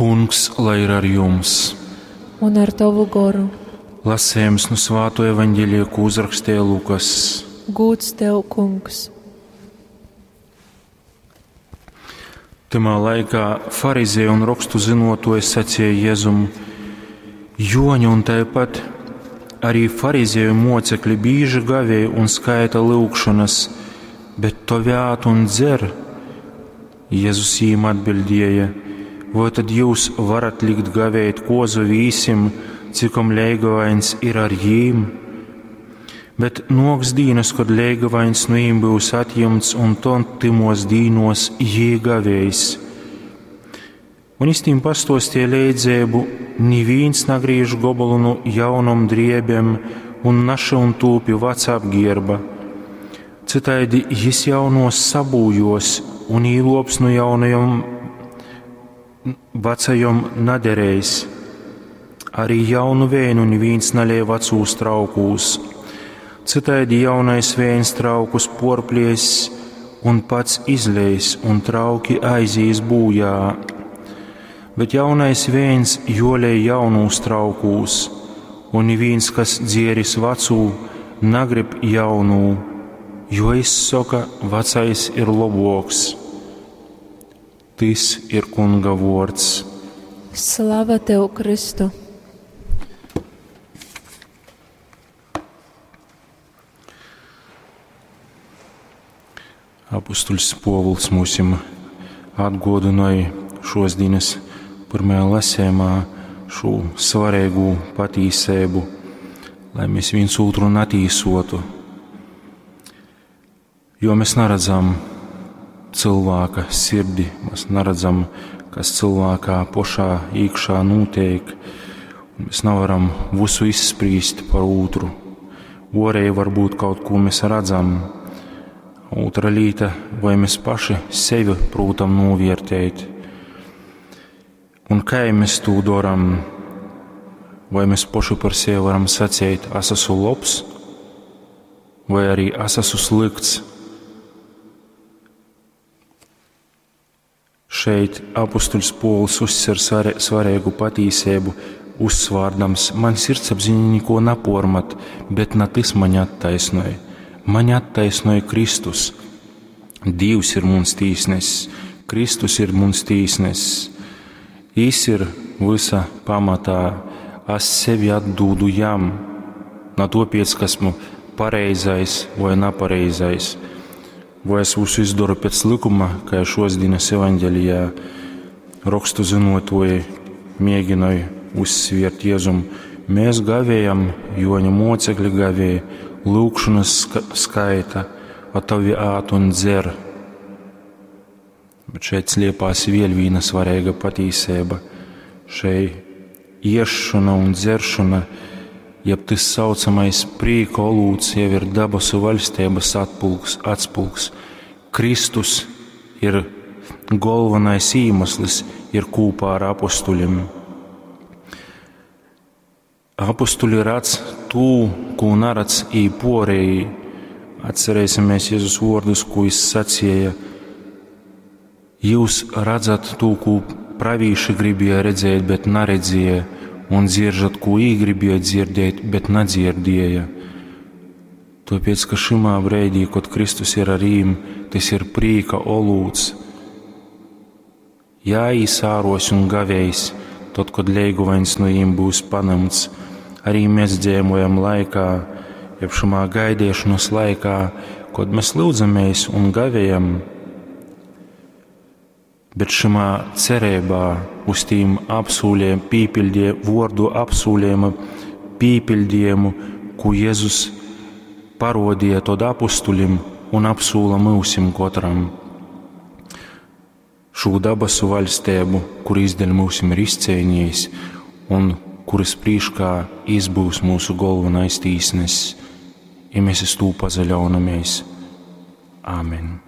Kungs, lai ir ar jums! Un ar tovu goru. Lasējums nu Svāto evaņģēlija, ko uzrakstīja Lukas. Gūds tev, Kungs! Tymā laikā farizēji un rokstu zinotoji sacīja Jēzum: Joņa un tāpat arī farizēju mocekļi bīži gavēja un skaita lūgšanas, bet tovi ād un dzer. Jēzus jīm atbildēja: Voi tad jūs varat likt gavēt kozu vīsim, cikom leigavains ir ar jīm? Bet noks dīnas, kad leigavains nu jīm būs atjimts, un ton tymos dīnos jī gavēs. Un es tīm pastostie leidzēbu, nivīns nagrīž gobolu nu jaunom driebem un našyun tū pi vaca apgierba. Cytaidi jis jaunos sabūjos un īlops nu jaunajom vacajom naderējs. Arī jaunu vēnu nivīns nalej vacūs traukūs. Cytaidi jaunais vēns traukus porpliess un pats izleis, un trauki aizīs būjā. Bet jaunais vēns jolej jaunūs traukūs, un nivīns, kas dzieris vacū, nagrib jaunū, jo izsoka, vacais ir loboks. Tys ir Kunga vuords. Slava tev, Kristu! Apustuļs Povuls mūsim atgodināja šos dienas pirmajā lasējumā šo svarīgo patīsību, lai mēs viens otru natīsotu. Jo mēs neredzam cilvēka sirdi, mēs neredzam, kas cilvēkā pošā iekšā notiek, un mēs nevaram visu izsprīst par otru. Orēji varbūt kaut ko mēs redzam, otra līta, vai mēs paši sevi prūtam novērtēt. Un kā mēs to darām? Vai mēs paši par sevi varam sacīt, es esmu labs, vai arī es esmu slikts? Šeit apustuļs Pols uzsver svarīgu patīsību, uzsvārdams: man sirdsapziņa neko napormat, bet ne tas mani attaisnoja. Mani attaisnoja Kristus. Dievs ir muns tīsnesis, Kristus ir muns tīsnesis. Jis ir visa pamatā, es sevi atdūdu jam, na topiec, ka esmu pareizais vai napareizais, vai es visu izdaru pēc likuma, kā šos dienas evaņģelijā rakstu zinotoji mēģināja uzsviert Jēzum. Mēs gavējam, Joņa mocekļi gavēja, lūgšanas skaita, a tavi ād un dzer. Bet šeit sliepās vēl viena svarīga patīsība. Šeit iešana un dzeršana, jeb tas saucamais prīka olūts, jau ir dabasu vaļstības atspulgs. Kristus ir galvenais iemesls, ir kopā ar apustuļiem. Apustuļi redz tū, ko neredz ī porēji. Atcerēsimies Jēzus vārdus, ko viņš sacīja. Jūs redzat to, ko pravīši gribēja redzēt, bet neredzēja, un dzirdat, ko ī gribēja dzirdēt, bet nedzirdēja. Tāpēc, ka šimā brīdī, kad Kristus ir ar jīm, tas ir prīka olūts. Jāīsāros un gavējs, tad, kad leiguvains no jīm būs panemts, arī mēs dzīvojam laikā, jeb šimā gaidīšanas laikā, kad mēs lūdzamies un gavējam, bet šimā cerībā uz tīm apsūliem pīpildie, vordu apsūlījuma pīpildījumu, ko Jēzus parodīja tod apustulim un apsūla mūsim katram. Šo dabasu vaļstību, kur izdēļ mūsim ir izcēnījis un kuras prīškā izbūs mūsu galvenais tīsnesis, ja mēs uz to pazaļaunamies. Āmen.